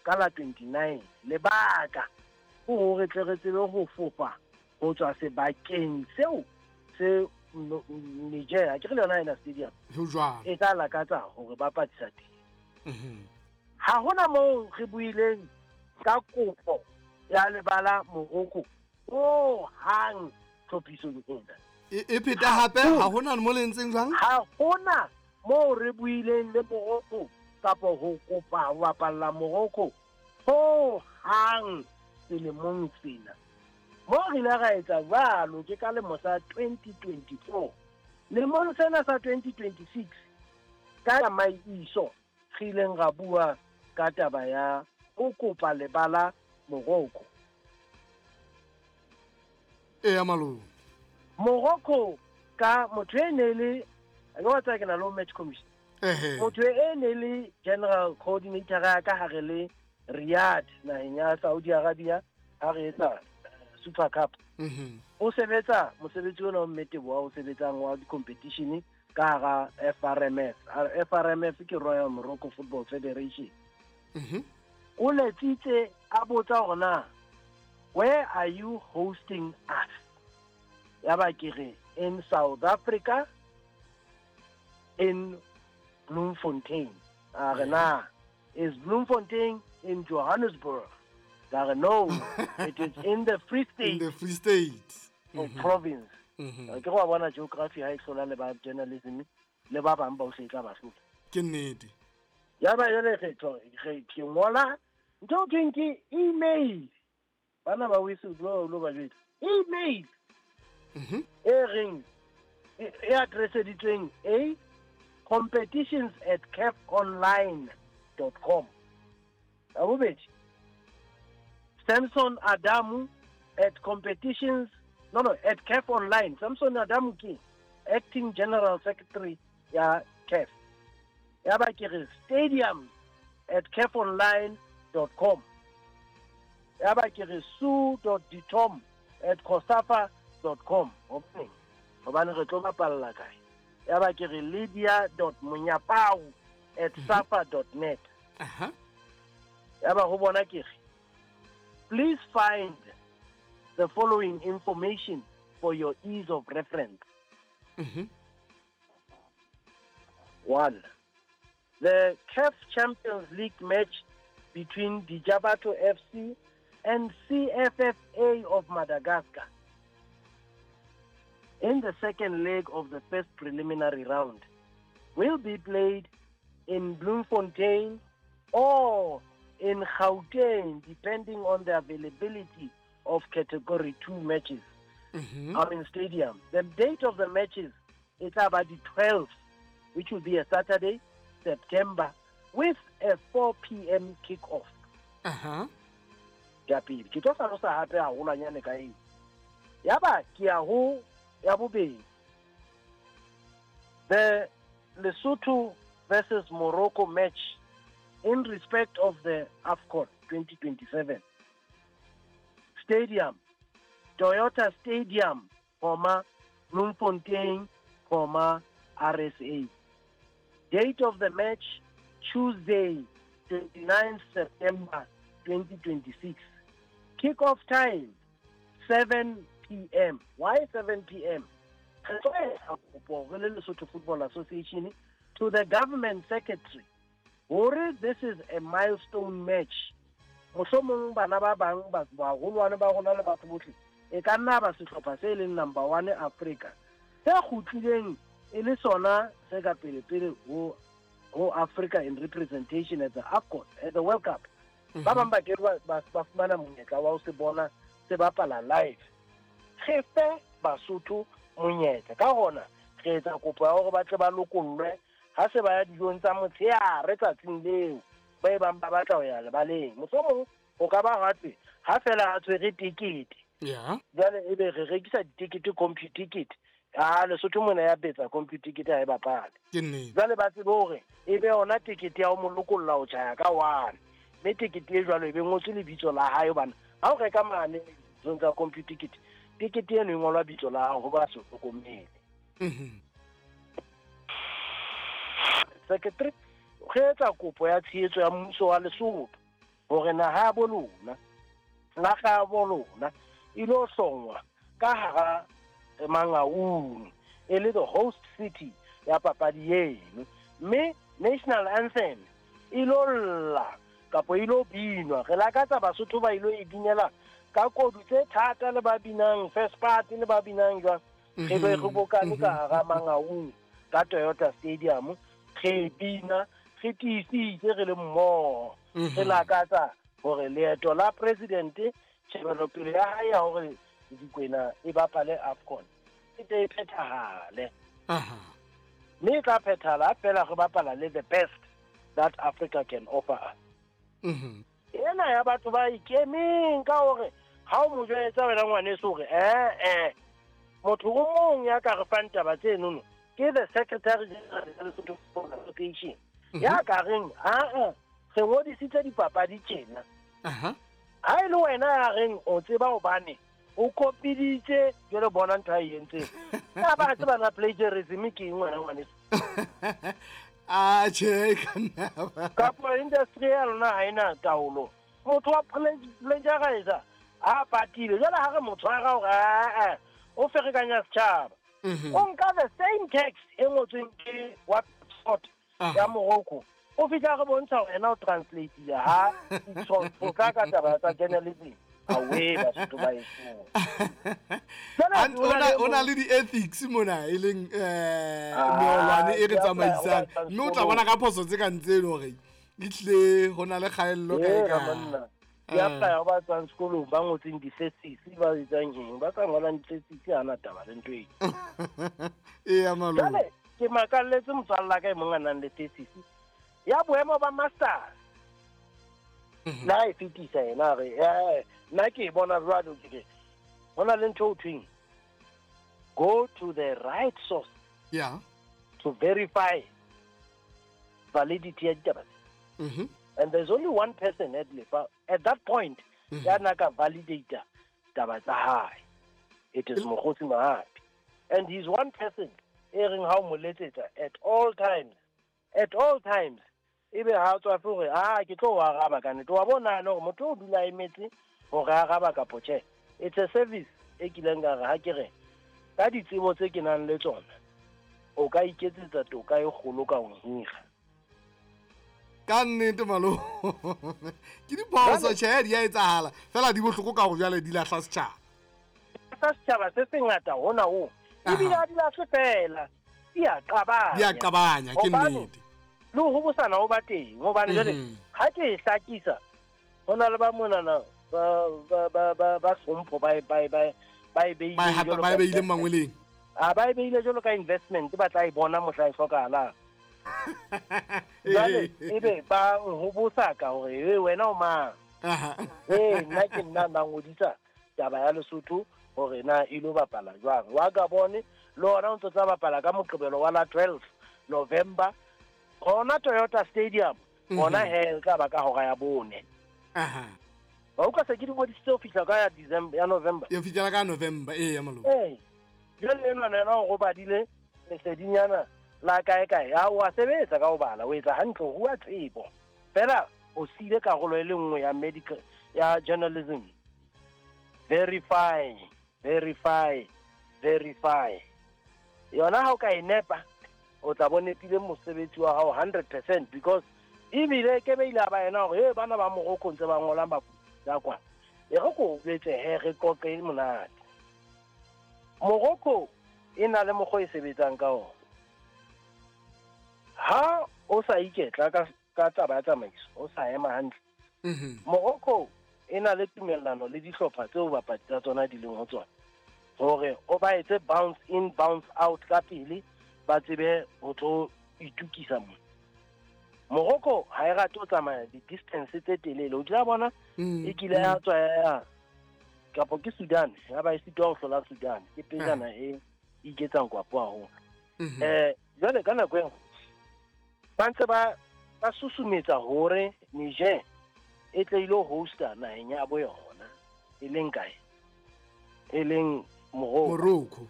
ka la 29. Lebaka ke hore tle re tsebe ho fofa ho tswa sebakeng seo se Niger, ke re le yona ena stadium e tla lakatsa hore ba patisa teng. Ha hona moo re buileng ka kopo ya lebala Morocco ho hang tlhophisong ena. E pheta hape, ha hona mo le entseng jwang? Ha hona moo re buileng le Morocco kapa ho kopa ho bapalla Morocco ho hang selemong sena. Mo re ile ra etsa jwalo ke ka lemo sa 2024. Lemong sena sa 2026 ka tsamaiso re ileng ra bua ka taba ya ho kopa lebala Morocco. Eya malome. Morocco ka motho e ne le ke wa tsaya ke na le match commission. Motho e ne le general coordinator ya ka hare le Riyadh naheng ya Saudi Arabia ha re etsa Super Cup. O sebetsa mosebetsi ona o mmetebo wa o sebetsang wa di-competition ka hara FRMF. FRMF ke Royal Morocco Football Federation. O letsitse a botsa hore na where are you hosting us? Ya ba ke re in South Africa in Bloemfontein. A re na is Bloemfontein in Johannesburg? Ka re no, it is in the Free State. In the Free State. Province. Ke go bona geography ha e hlola le ba journalism le ba bang ba o se tla ba hlola. Ke nnete. Ya ba jale re tlo re ke ngola ntho ke ke email. Bana ba whistle blower lo ba jwetsa. Email. E reng e addresseditsweng a competitions@cafonline.com. Ya bobedi, Samson Adamu at competitions no no at CAF Online. Samson Adamu ke acting general secretary ya CAF. Ya ba ke re stadium@cafonline.com. Ya ba ke re sue.ditom@cosafa.com. Hobane re tlo bapalla kae? Ya ba ke re lydia.monyapau@safa.net. Ya ba ho bona ke re please find the following information for your ease of reference. 1. The CAF Champions League match between Dijabato FC and CFFA of Madagascar in the second leg of the first preliminary round will be played in Bloemfontein or in Gauteng, depending on the availability of Category 2 matches. I mean stadium. The date of the matches is about the 12th, which will be a Saturday, September, with a 4 p.m. kickoff. Ya pele ke tlo hlalosa hape haholwanyane ka eo. Ya ba ke ya ho ya bobedi. The Lesotho versus Morocco match in respect of the AFCON 2027. Stadium, Toyota Stadium, Bloemfontein, RSA. Date of the match, Tuesday, 29 September 2026. Kickoff time, 7 p.m. Why 7 p.m.? Lesotho Football Association to the government secretary. Hore this is a milestone match. Mohlomong bana ba bang ba baholwane ba rona le batho bohle e ka nna ba sehlopha se leng number 1 Africa se kgutlileng e le sona se ka pele pele ho Africa in representation at the AFCON at the World Cup. Ba bang ba ke ba fumana monyetla wa ho se bona se bapala live. Re fe Basotho monyetla ka hona re etsa kopo ya hore ba tle ba lokollwe ha se ba ya dijong tsa motshehare tsatsing leo ba e bang ba batla ho ya lebaleng. Mohlomong ho ka ba hape ha fela a tshwere tekete. Jwale ebe re rekisa ditekete computicket. Ah, Lesotho mona ya betsa computicket ha e bapale. Jwale ba tsebe hore e be yona tekete ya ho mo lokolla ho tjhaya ka one. Mme tekete e jwalo e be ngotswe lebitso la hae hobane ha o reka mane tsong tsa computicket, tekete eno e ngolwa bitso la hao ho ba se hlokomele. Secretary re etsa kopo ya tshehetso ya mmuso wa Lesotho Hore naha ya bo lona, flaga ya bo lona e lo hlongwa ka hara Mangaung e le the host city ya papadi eno, mme national anthem e lo lla kapo e lo binwa. Re lakatsa Basotho ba ilo e binela ka kodu tse thata, le ba binang first part, le ba binang jwang. Re be re bokane ka hara Mangaung ka Toyota Stadium, re bina re tiisitse, re le mmoho. Re lakatsa hore leeto la president, tjhebelopele ya hae ya hore Dikwena e bapale AFCON e tle e phethahale, mme e tla phethahala fela re bapala le the best that Africa can offer us. Ena ya batho ba ikemeng ka hore ha o mo jwetsa, wena ngwaneso, hore ee, motho o mong ya ka re fang taba tsenono ke the secretary general ya Lesotho Football Association, ya ka reng aa re ngodisitse dipapadi tjena. Ha e le wena ya reng o tseba hobane o kopiditse, jwale bona ntho a e entseng ka ba tseba na plagiarism ke eng, wena ngwaneso? A tjhe, ka nna ba. Kapo industry ya lona ha ena taolo. Motho wa plagiarizer a patile, jwale ha re mo tshwara hore aa o ferekanya setjhaba, o nka the same text e ngotsweng ke wa sport ya Morocco, o fihla re bontsha hore yena o translateile ha tla ka taba tsa journalism. Awe, Basotho ba eso. O na le di-ethics mona, e leng meolwane e re tsamaisang, mme o tla bona ka phoso tse kang tseno hore ehlile ho na le kgaello kae kae. Monna, ke apply ba tswang sekolong, ba ngotseng di-thesis, ba etsang eng, ba sa ngolang di-thesis, ha na taba le ntho eo. Eya, malome. Jwale ke makalletse motswalla ka e mong a nang le thesis ya boemo ba masters, la e fetisa yena, a re nna ke e bona jwalo. Ke re ho na le ntho ho thweng go to the right source to verify validity ya ditaba tse. And there's only one person at Lefa at that point ya na ka validata taba tsa hae. It is Mokgotsi Mahapi, and he's one person e reng ha o mo letsetsa at all times, at all times, ebe ha tswa fe hore a ke tlo o araba ka nnete, wa bona le hore motho o dula a emetse hore a araba kapo tjhe. It's a service e kileng ka re ha ke re ka ditsebo tse ke nang le tsona, o ka iketsetsa toka e kgolo ka ho hira. Ka nnete, malome, ke diphoso. Tjhe, di a etsahala fela, di bohloko ka hore jwale di lahla setjhaba. Sa setjhaba se sengata hona ho, ebile ha di lahle fela, di a qabanya. Di a qabanya, ke nnete. Le ho hobosana ho ba teng, hobane jwale ha ke e hlakisa, ho na le ba monana ba hlompho ba e beile jwalo ba e beile mangweleng. A ba e beile jwalo ka investment, ba tla e bona mohla e hlokahalang. Jwale ebe ba hobosa ka hore e wena o mang? Ee, nna ke nna na ngodisa taba ya Lesotho hore na e lo bapala jwang. Wa Gabon le ona o ntse tla bapala ka Moqebelo wa la 12 November, hona Toyota Stadium. Hona he tla ba ka hora ya 4. Ba utlwa, se ke di ngodisitse ho fihla ka ya December, ya November. Ya fihlela ka November, ee, ya malome. Ee, jwale enwana yena o robadile lesedinyana la kae kae. Ha o a sebetsa ka ho bala, o etsa hantle, ho rua tsebo fela, o siile karolo e le nngwe ya medical, ya journalism: verify, verify, verify. Yona ha o ka e nepa, o tla bo nepile mosebetsi wa hao 100%, because ebile ke be ile a ba yena hore e bana ba Morocco ntse ba ngola ya kwa. E re ko jwetse he, re qoqe e monate. Morocco e na le mokgwa e sebetsang ka ona. Ha o sa iketla ka taba ya tsamaiso, o sa ema hantle, Morocco e na le tumellano le dihlopha tseo bapadi tsa tsona di leng ho tsona hore o ba etse bounce in, bounce out ka pele, ba tsebe ho tlo itukisa mona. Morocco ha e rate ho tsamaya di-distance tse telele. O kile bona e kile ya tswa ya kapo ke Sudan, ya ba e sitwa ho hlola Sudan, ke pejana e iketsang kwapo haholo. Jwale ka nako eo ba ntse ba susumetsa hore Niger e tle ilo hosta naheng ya bo yona, e leng kae? E leng Morocco. Morocco.